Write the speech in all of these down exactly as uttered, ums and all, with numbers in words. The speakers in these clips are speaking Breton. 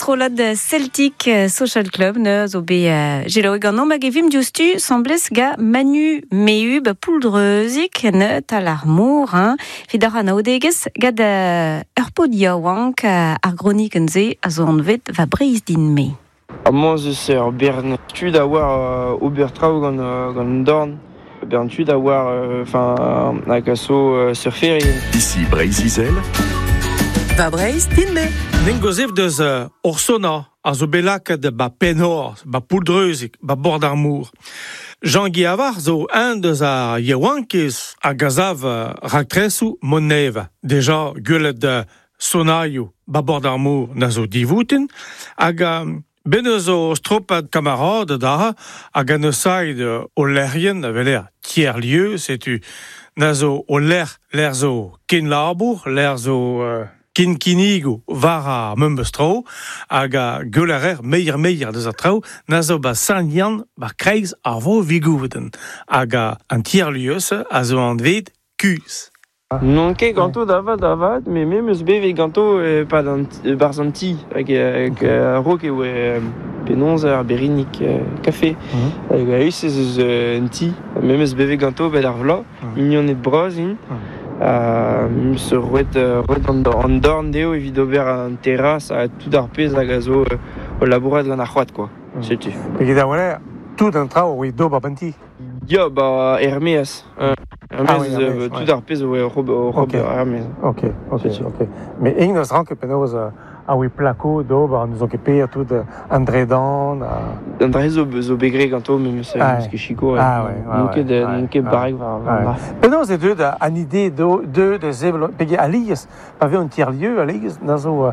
strollad Celtic Social Club ne zo be uh, gelo ganom hag evim diouzhtu semblez ga Manu Mehu ba pouldreuzik ne tal ar mor hein evit ar anaoudegezh gad uh, ur pod yaouank uh, ar gronikenn se a zo anvet va Breizh din-me. Amañ ez eus ur bern tud a oar uh, ober traoù gant, uh, gant an dorn. Bern tud a oar enfin hag a zo uh, surferien. Ici Breizh-Izel. Va Breizh din-me. Nen gozev deus uh, Orsona a zo belaket ba Penhor, ba Pouldreuzik, ba bord ar Mour. Jean-Guy Avar zo un deus ar yaouankiz a gazav uh, raktresoù Moneva. Deja gwelet uh, sonaioù ba bord ar Mour na zo divoutin, hag um, ben eus o stropad kamarad da hag an eus aid o lerien a veler tiers-lieu, setu na zo o ler, ler zo ken labour, ler zo uh, ken kinnigoù war ar memes tro, hag a geulerer meier meier deus ar traoù, na zo ba Saint-Yann ba kreiz ar vo vigouden, hag a an tiers-lieu a zo anvet kuz. Non ket ganto da vat da vat, me me meus bevet ganto eh, pad an barzh an ti, hag hag a-raok e oa penaos ar berinik eh, kafe. Hag a-us ez eus un ti, me meus bevet ganto bet ar vloaz, mignoned bras int. Ha meus roet, roet an, an dorn dezho evit ober an terras ha tout ar pezh hag a zo o labourat gant ar c'hoad, quoi. Setu. Peget a wale, tout an traoù oe d'ober ban ti. Ya, ba er-maez. Euh, Ah oui, er-maez, er-maez, euh, tout ouais. ar pezh oe rob, rob Ok. er-maez. Ok, ok, Setu. ok. Mais ing neus ranket penaos uh, a oe plako d'ober, an eus ket per tout uh, an dredan. Uh... An dre zo, zo begre ganto, me meus Ah, meus ket chiko. Ah, ouais, ouais, N'on ket, ouais, n'on ket ouais. barrek war, war Ouais. war. Penaos e deud an ide do, de, de zevel, pege alies, pa ve un tiers-lieu alies, na zo uh,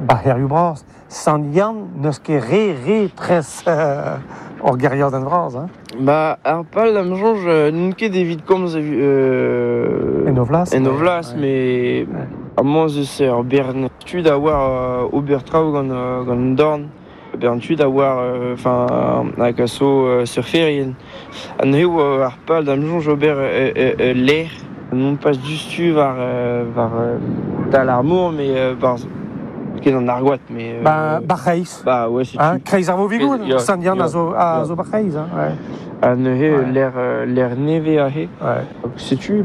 ba herioù bras, Sant-Yann neus ket re, re tres uh, ur geriad an vras, hein? Ba, ar pal da'm soñj, euh, n'on ket evit komz euh, En o vlas. en o vlas, mais amañ ez eus ur bern tud a oar uh, ober traoù gant, uh, gant an dorn. Bern tud a oar enfin hag a zo uh, surferien. An eo uh, ar pal da'm soñj ober euh, euh, euh, l'air. Non pas diouzhtu war, euh, war euh, tal ar mor, mais euh, war ket an argoat, mais... Euh, Ba, ba c'hreiz. Ba, ouais, setu. Hein, kreiz ar vo vigoud, Ya, Sant-Yann ya, a zo, a ya. zo ba c'hreiz, hein, ouais. Ha neuze Ouais. l'air, euh, l'air nevez aze. Ouais. Setu,